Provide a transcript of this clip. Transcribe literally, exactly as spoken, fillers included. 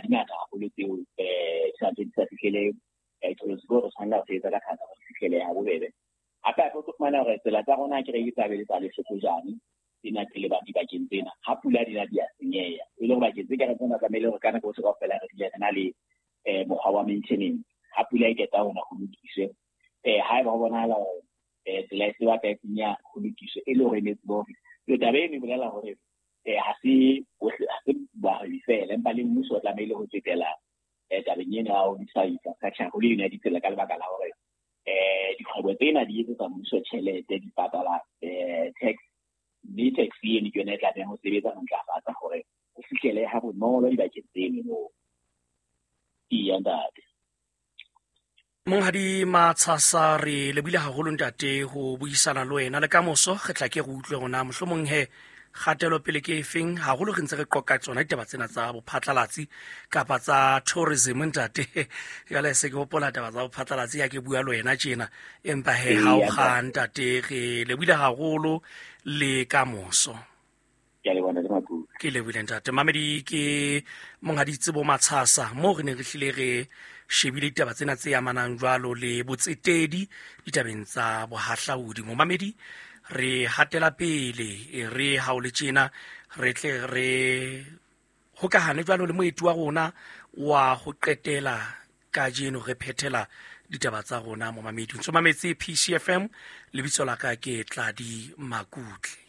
di ngata haholo tseo um sa di sa fihlele um qholotsi ke hore tshwanela ho sebetsa ka thata hore di fihlele ha bobebe. Hape hape o tlo fumana hore tsela tsa rona ke re ke tsa be le tsa lehlokojane tsena tse lebang dibakeng tsena, ha pula di na di a senyeha, e le hore bakeng tse ka re tsena tlamehile hore ka nako tsohle kaofela re dule re na le um mokgwa wa maintenance. Ha pula e qeta hona ho lokiswe, um haeba ho bonahala hore um tsela e se batla e senyeha ho lokiswe, e le hore e ne tsebe hore le taba eno e bolela hore um ha se bohle, ha se bahwebi feela, empa le mmuso o tlamehile ho tsetela um tabeng ena ya ho lokisa infrastructure haholo eno ya ditsela, ka lebaka la hore um dikgwebo tsena di etsetsa mmuso tjhelete, di patala um tax, mme tax eno ke yona e tlamehang ho sebetsa ho ntlafatsa hore ho fihlele ha bonolo dibakeng tseno moo. Eya ntate. Monghadi Matshasa, re lebohile haholo ntate ho buisana le wena, le kamoso re tla ke re utlwe rona mohlomong he kgatelopele ke efeng, haholo re ntse re qoqa tsona ditaba tsena tsa bophatlalatsi kapa tsa tourism ntate. Jwale se ke hopola taba tsa bophatlalatsi ha ke bua le wena tjena, empa he ha o kga ntate, re lebohile haholo le kamoso. Ke a leboha ntate Makuka. Ke lebohile ntate. Mamedi ke Monghadi Tsebo Matshasa, moo re ne re hlile re shebile ditaba tsena tse amanang jwalo le botsetedi ditabeng tsa bohahlaudi. Momamedi, re hatela pele, e re ha o le tjena re tle re hokahane jwalo le moeti wa rona wa ho qetela kajeno, re phethela ditaba tsa rona. Momamedi, o ntso mametse P C F M, lebitso la ka ke Tladi Makutle.